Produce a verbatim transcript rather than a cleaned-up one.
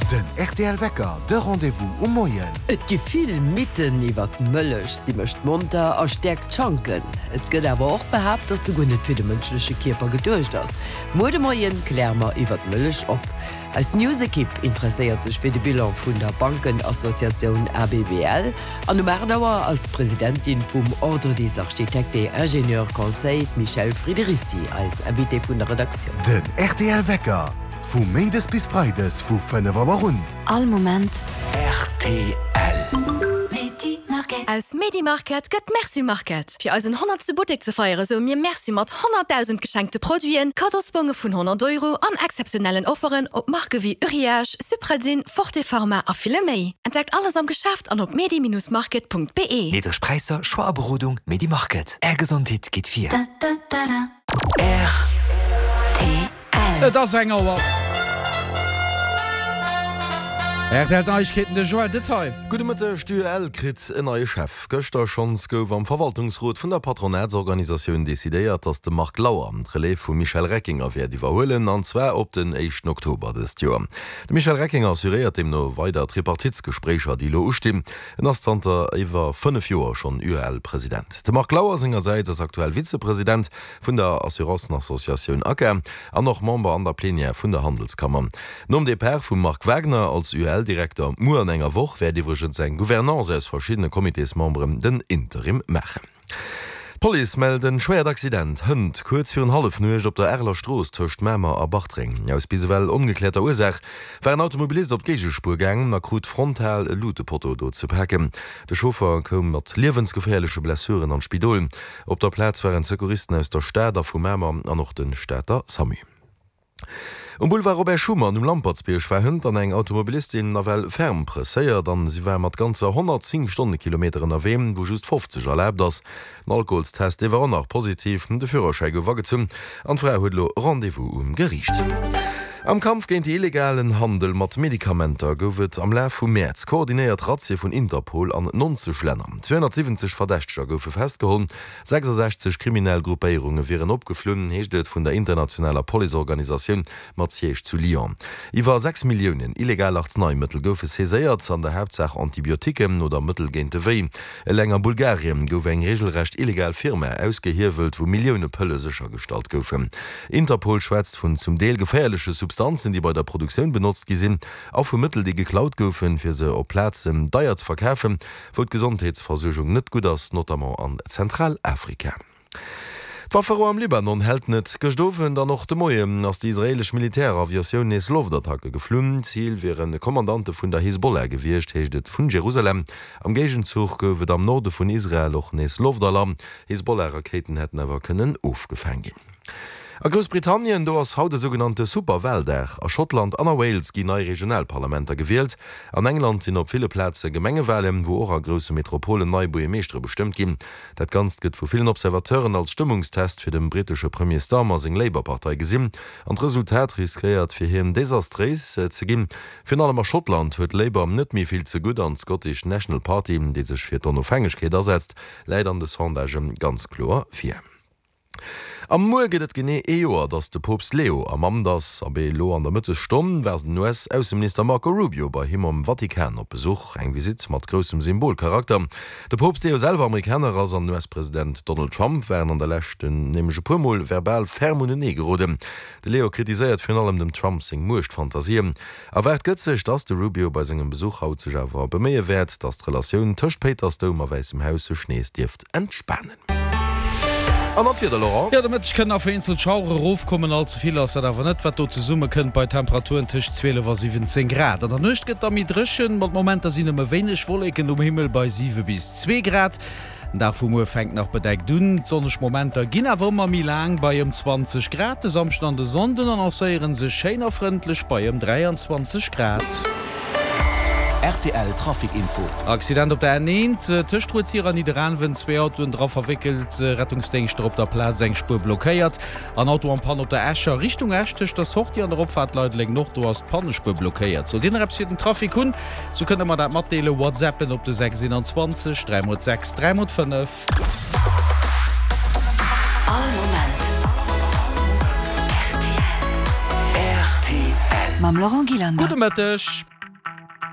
Den rtl Wecker, de Rendez-vous um Moien. Et gi vill Mythen iwwer d'Mëllech. Si mécht monter a stäerkt d'Schanken. Et gëtt awer och behaapt, dass se guer net fir de mënschleche Kierper geduecht ass. Muer de Moien kläre mer iwwer d'Mëllech op. Eis News-Ekipp interesséiert sech fir de Bilan vun der Bankenassociatioun ABBL an um aacht Auer ass d'Presidentin vum Ordre des Architectes et Ingénieurs Conseils, d'Michèle Friederici, eis Invitée vun der Redaktioun. Den rtl Wecker, vu méindes bis freides vu fënnef Auer un. All Moment. Rtl. Aus Medi Market gëtt Merci Market. Fir eisen honnertste Buttek ze feiere soe mir Merci mat honnertdausend geschenkte Produiten, Kaddosbonge vun honnert Euro an exzeptionellen Offeren op Marke wéi Uriage, Supradyn, Forte Pharma a ville méi. Entdeckt alles am Geschäft an op medi-market.be. Niddreg Präisser, Choix a Berodung, Medi Market. Är Gesondheet geet vir. Et ass eng Auer. R T L Neiegkeeten, de Joël Detail. Gudde Mëtteg, D'UEL kritt en neie Chef. Gëschter schonns gouf am Verwaltungsrot vun der Patronatsorganisatioun decidéiert, datt de Marc Lauer d'Relève vum Michel Reckinger wäert iwwerhuelen, an zwar op den éischten Oktober dëst Joer. De Michel Reckinger assuréiert deemno weider d'Tripartitsgespréicher, déi elo ustinn. En ass zanter iwwer fënnef Joer schonn U E L-President. De Marc Lauer sengersäits ass aktuell Vizepresident vun der Assurancenassociatioun ACA an och Member an der Plenière vun der Handelskammer. Nom Depart vum Marc Wagner als U E L-Direkter muer an enger Woch wäert iwwregens eng Gouvernance aus verschiddene Comitésmemberen den Interim maachen. D'Police mellt en schwéiert Accident hënt kuerz virun Hallefnuecht op der Areler Strooss tëscht Mamer a Bartreng. Aus bis ewell ongekläerter Ursaach war en Automobilist op d'Géigespuer gaangen a krut frontal e Lutepotto do ze paken. De Chauffer koum mat liewensgeféierleche Blessuren an d'Spidol. Op der Plaz waren Secouristen aus der Stad a vu Mamer an och de Stater SAMU. Um Boulevard Robert Schuman um Lampertsbierg war hënt dann eng Automobilistin nawell ferm presséiert an si war mat ganzer honnertzéng Stonnekilometer ënnerwee, wou just fofzeg erlaabt ass. Den Alkoholstest, dee war och nach positiv, de Führerschäi gouf agezunn an d'Fra huet elo Rendez-vous um Geriicht. Am Kampf géint de illegalen Handel mat Medikamenter gouf et am Laf vum Mäerz koordinéiert Razzie vun Interpol an nonzeg Länner. Zweehonnertsiwwenzeg Verdächteger goufe festgeholl, sechsasechzeg kriminell Gruppéierunge wieren opgeflunn, heescht et vun der internationaler Policeorganisatioun mat Siège zu Lyon. Iwwer sechs Milliounen illegal Arznaimëttel goufe saiséiert, an der Haaptsaach Antibiotiquen oder Mëttel géint de Wéi. Eleng a Bulgarien gouf eng reegelrecht illegal Firma ausgehiewelt, wou Millioune Pëlle séchergestallt goufen. Interpol schwätzt vun zum Deel geféierleche Substanzen, déi bei der Produktioun benotzt gi sinn, a vu Mëttel, déi geklaut goufen, fir se op Plazen deier ze verkafen, wou d'Gesondheetsversuergung net gutt ass, notamment an Zentralafrika. D'Wafferou am Libanon hält net. Gëscht Owend an och de Moien ass déi israeelesch Militäraviatioun nees Loftattacke geflunn. Zil wiere Kommandante vun der Hisbollah gewiescht, heescht et vun Jerusalem. Am Géigenzuch gouf et am Norde vun Israel och nees Loftalarm. Hisbollah-Rakéiten hätten awer kënnen ofgefaang ginn. A Groussbritannien, do ass haut e sougenannte Superwaldag. A Schottland an a Wales ginn nei Regionalparlamenter gewielt. An England sinn op ville Plaze Gemengewalen, wou och a grousse Metropolen nei Buergermeeschtere bestëmmt ginn. Dat Ganzt gëtt vu villen Observateuren als Stëmmungstest fir dem brittesche Premier Starmer seng Labour-Partei gesinn. An d'Resultat riskéiert fir hien desastréis ze ginn. Virun allem a Schottland huet Labour net méi vill ze gutt an d'Scottish National Party, déi sech fir d'Onofhängegkeet asetzt, läit an de Sondagë ganz kloer vir. A muer gëtt et genee ee Joer, datt de Poopst Leo am Amt ass. Abee, elo an der Mëttesstonn war den U S-Ausseminister Marco Rubio bei him am Vatikan op Besuch. Eng Visitt mat groussem Symbolcharakter. De Poopst, dee jo selwer Amerikaner ass, an den U S-President Donald Trump waren an der Lescht nämlech e puer Mol verbal ferm unenee geroden. De Leo kritiséiert virun allem dem Trump seng Muechtfantasien. Erwaart gëtt sech, datt de Rubio bei sengem Besuch haut sech awer beméie wäert, datt d'Relatioun tëscht Péitersdoum a Wäissem Haus sech nees dierft entspanen. An dann d'Wieder, Laurent. Jo, de Mëtteg kënnen nach vereenzelt Schauere erofkommen, all ze vill ass dat awer net, wat do zesumme kënnt bei Temperaturen tëscht zwielef a siwwenzéng Grad. An der Nuecht gëtt da méi dréchen, mat Momenter sinn nëmme wéineg Wolleken um Himmel bei siwe bis zwee Grad. Den Dag vu muer fänkt nach bedeckt un, d'sonneg Momenter ginn awer ëmmer méi laang bei ëm zwanzeg Grad. De Samschden an de Sonnden annoncéiere sech schéin a frëndlech bei ëm dräianzwanzeg Grad. R T L Trafic Info. Accident op der N eent tëscht Rued-Sir an Nidderaanwen, zwee Autoen dra verwéckelt, Rettungsdéngschter op der Plaz, eng Spuer blockéiert. An Auto en panne op der Escher Richtung Esch tëscht der Sortie an der Opfaart Leideleng Nord, do ass d'Pannespuer blockéiert. Sollt Dir nach eppes fir den Trafic hunn, sou kënnt der mer dat matdeelen, WhatsAppen op de sechs eenanzwanzeg dräi mol sechs dräi mol fënnef. All Moment R T L. Mam Laurent Gillander. Gudde Mëtteg.